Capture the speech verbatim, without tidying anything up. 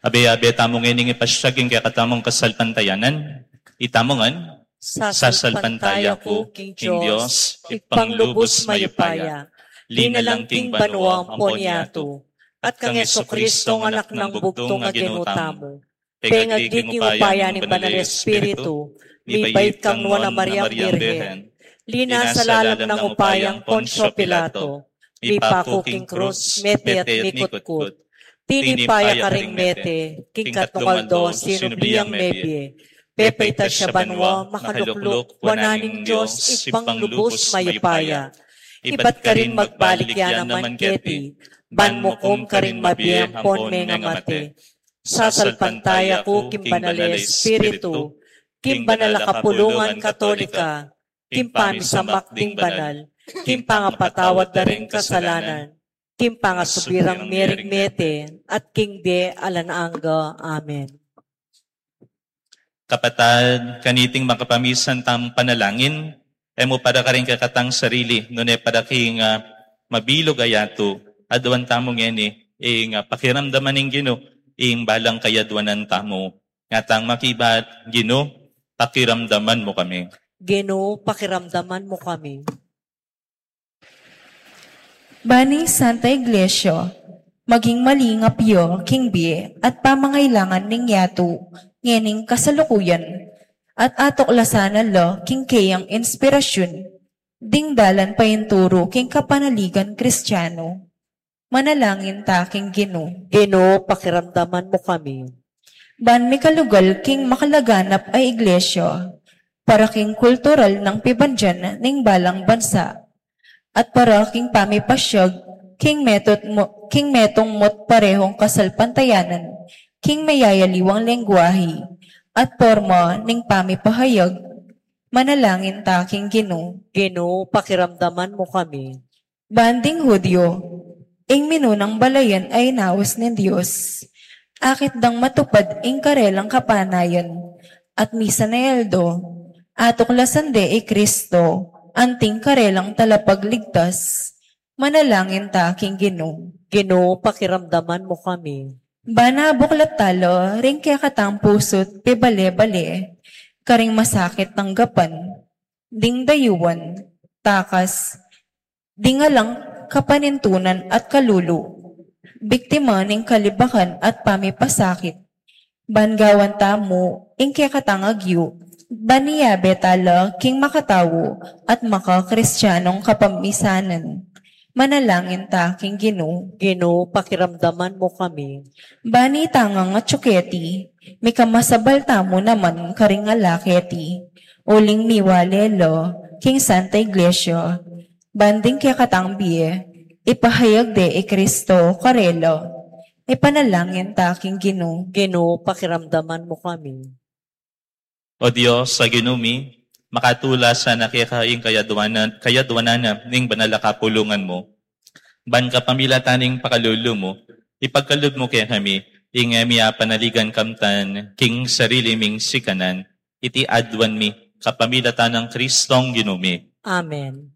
Abe-abe tamu ngening ipasiag ing kekatamung kasalpantayanan. Itamu ngan. Sasalpantaya ku king Dios, Ibpang lubus mayupaya, linalang king banua ampon yatu, at kang Jesucristo, Anak nang bugtung a Ginu tamu, pengagli king upaya ning Banal Espiritu, mibait kang Nuan a Mariang Birhen, linasa lalam ning upayang Poncio Pilato, mipaku king krus, mete at mikutkut, tinipa ya karing mete, king katlung aldo sinubli yang mebie, pepaitas ya banua, makalukluk wanan ning Dios, Ibpang lubus mayupaya. Ibat karin magbalik ya naman keti, ban mukum karing mabie ampon mengamate. Sasalpantaya ku king Banal a Espiritu, king banal a kapulungan Katolika, king pamisamak ding banal, king pangapatawad da ring kasalanan, king pangasubirang miring mete, at king bie alang angga. Amen. Kapatad, kaniting makapamisan tang panalangin, e mu para karing kekatang sarili, nune para king, ah, mabilug a yatu, aduan tamu ngeni, ing, ah, pakiramdaman ning Ginu, ing balang kayadwanan tamu. Ngatang makibat, Ginu, pakiramdaman mu kami. Ginu, pakiramdaman mu kami. Ban ing Santa Iglesia maging malingap ya king bie at pamangailangan ning yatu ngening kasalukuyan, at atuklasan na la king keyang inspirasyun ding dalan painturu king kapanaligan Kristianu. Manalangin ta king Ginu. Ginu, pakiramdaman mu kami. Ban mikalugal king makalaganap a iglesia para king kultural nang pibandian ning balang bansa, at para king pamipasiag king metung mu-, king metung mu't parehung kasalpantayanan, king meyayaliwang lengguahe at porma ning pamipahayag, manalangin ta king Ginu. Ginu, pakiramdaman mu kami. Ban ding Judio, ing minunang balayan a inaus ning Dios, akit dang matupad ing karelang kapanayan, at misan a aldo, atuklasan de i Kristo, anting karelang talapagligtas, manalangin ta king Ginu. Ginu, pakiramdaman mu kami. Ban abuklat tala ring kekatang pusu't pibale-bale karing masakit tanggapan, ding dayuan, takas, ding alang kapanintunan at kalulu, biktima ning kalibakan at pamipasakit. Ban gawan tamu ing kekatang agyu, ban iyabe tala king makatau at makakristyanung kapamisanan. Manalangin ta king Ginu. Ginu, pakiramdaman mu kami. Ban itang atyu keti, mikamasabal tamu naman karing ala keti, uling miwale la king Santa Iglesia, ban ding kekatang bie, ipahayag de i Kristo karela. Ipanalangin ta king Ginu. Ginu, pakiramdaman mu kami. O Dios, a Ginu mi, makatula sana keka ing kayadwanan, kayadwanan na ning banal a kapulungan mu. Ban kapamilatan ning pakalulu mu, ipagkalub mu kekami, ing e mi apanaligan kamtan king sarili ming sikanan, iti aduan mi, kapamilatan nang Kristong Ginu mi. Amen.